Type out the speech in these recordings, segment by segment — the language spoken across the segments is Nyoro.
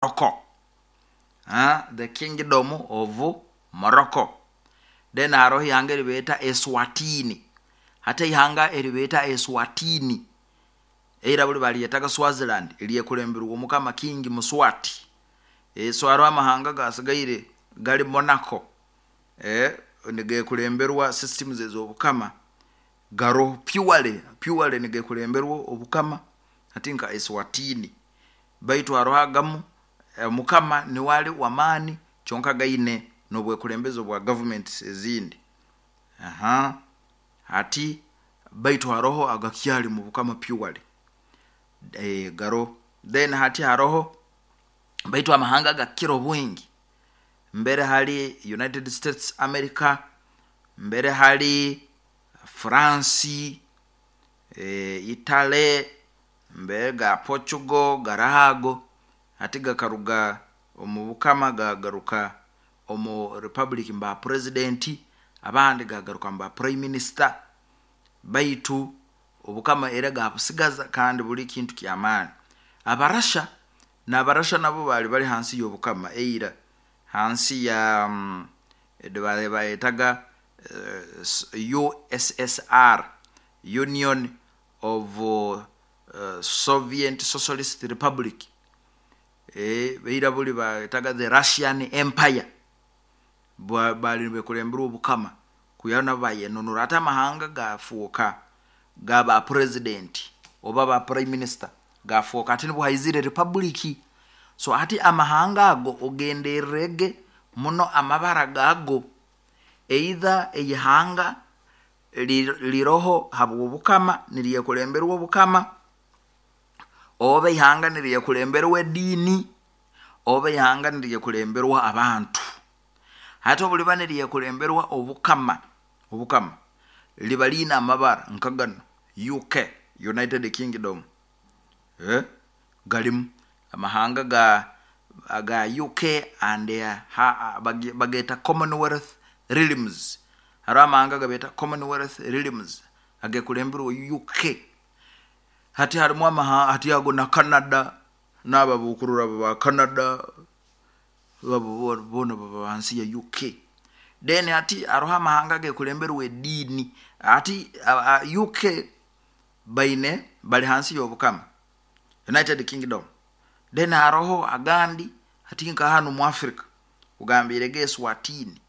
Morocco, the Kingdom of Morocco. Then haroho ihanga eribeeta Eswatini. Hati eihanga eribeeta Eswatini, eira buli balyetaga Swaziland, lyekulemberwa omukama King Muswati. So haroho amahanga gasigaire gali Monaco, nigekulemberwa systems ez'obukama, garoho purely, purely nigekulemberwa obukama, hati nka Eswatini. Baitu haroho agamu omukama niwe ali w'amaani kyonka gaine n'obwekulembezi obwa governments ezindi. Aha, hati baitu haroho agakyali mu bukama purely, garoho. Then hati haroho, baitu amahanga agakukira obwingi mbere hali United States America, mbere hali France, Italy, mbere ga Portugal garoho ago, hati gakaruga omu bukama gaagaruka omu republic mu ba president, abandi gaagaruka mu ba prime minister, baitu obukama era gaabusigaza kandi buli kintu ky'amaani. Abarasha, n'Abarasha nabo baali bali hansi y'obukama eira, hansi ya bayetaga USSR, Union of Soviet Socialist Republic, ira buli bayetaga the Russian Empire, baali nibekulemberwa obukama kwihaho nabo bayenunura. Hati amahanga gafooka ga ba president oba ba prime minister, gafooka hati nubwo haizire republic. So hati amahanga ago ogenderrege muno amabara gaago, either eihanga liroho habw'obukama niryekulemberwa obukama, oba ihanga niryekulemberwa ediini, oba ihanga niryekulemberwa abantu. Hati obu liba niryekulemberwa obukama, obukama liba liine amabara nka ganu UK, United Kingdom, galimu amahanga aga UK and bageeta Commonwealth Realms, haroho amahanga agabeeta Commonwealth Realms agekulemberwa UK. Hati harumu hati ago na Canada, naabo abokurora abo ba Canada, abo boona baba hansi ya UK. Then hati haroho amahanga agekulemberwa ediini, hati UK baine bali hansi y'obukama, United Kingdom. Then haroho agandi hati nka hanu mu Africa, nkugambirege Eswatini,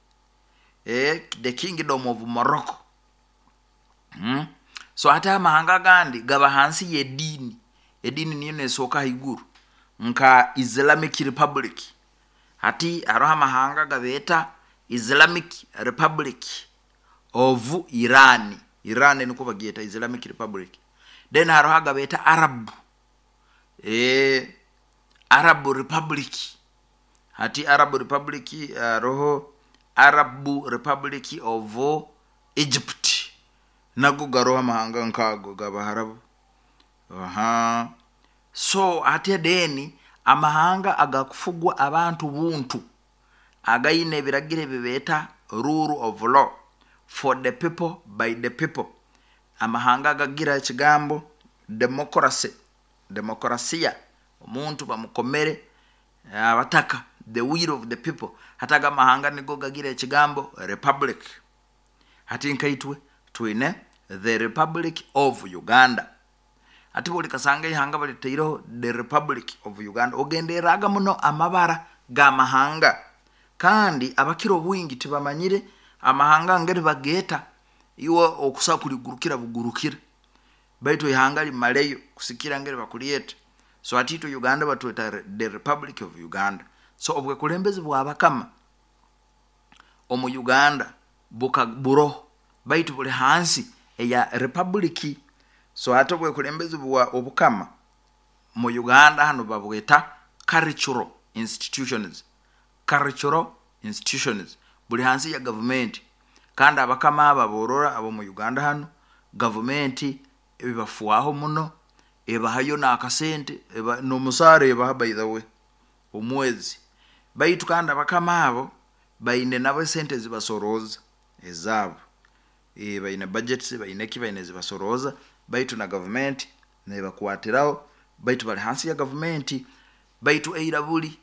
the Kingdom of Morocco. So hati amahanga agandi gaba hansi y'ediini, ediini niyo nesooka haiguru nka Islamic Republic. Hati haroho amahanga agabeeta Islamic Republic of Iran, Iran nikwo bagyeta Islamic Republic. Then haroho agabeeta Arab, Arab Republic. Hati Arab Republic haroho Arab Republic of Egypt, nago garoho amahanga nk'ago g'Abaharabu. So hati then amahanga agakufugwa abantu buntu, againe ebiragiro ebi beeta rule of law, for the people by the people, amahanga agagira ekigambo democracy, demokrasiya, omuntu bamukomere abataka, the will of the people, hati ago amahanga nigo gagira ekigambo republic. Hati nkaitwe twine the Republic of Uganda. Hati buli kasanga ihanga balitaireho the Republic of Uganda, ogenderraga muno amabara g'amahanga, kandi abakira obwingi tibamanyire amahanga ngeri bageeta, iwe okusobola kuligurukira bugurukira, baitu ihanga limaleyo kusikira ngeri bakulyeta. So hati itwe Uganda batweta the Republic of Uganda. So obwekulembezi bw'abakama omu Uganda buka buroho, baitu buli hansi eya republic. So hati obwekulembezi bwa obukama mu Uganda hanu babweta cultural institutions, cultural institutions, buli hansi ya gavumenti, kandi abakama abo aborora ab'omu Uganda hanu, gavumenti ebafwaho muno, ebahayo n'akasente, n'omusaara ebaha by the way omwezi. Baitu kandi abakama abo baine nabo esente ezibasorooza ezaabo, baine budgets, baine ki, baine ezibasorooza, baitu na gavumenti nebakwatiraho, baitu bali hansi ya gavumenti. Baitu eira buli.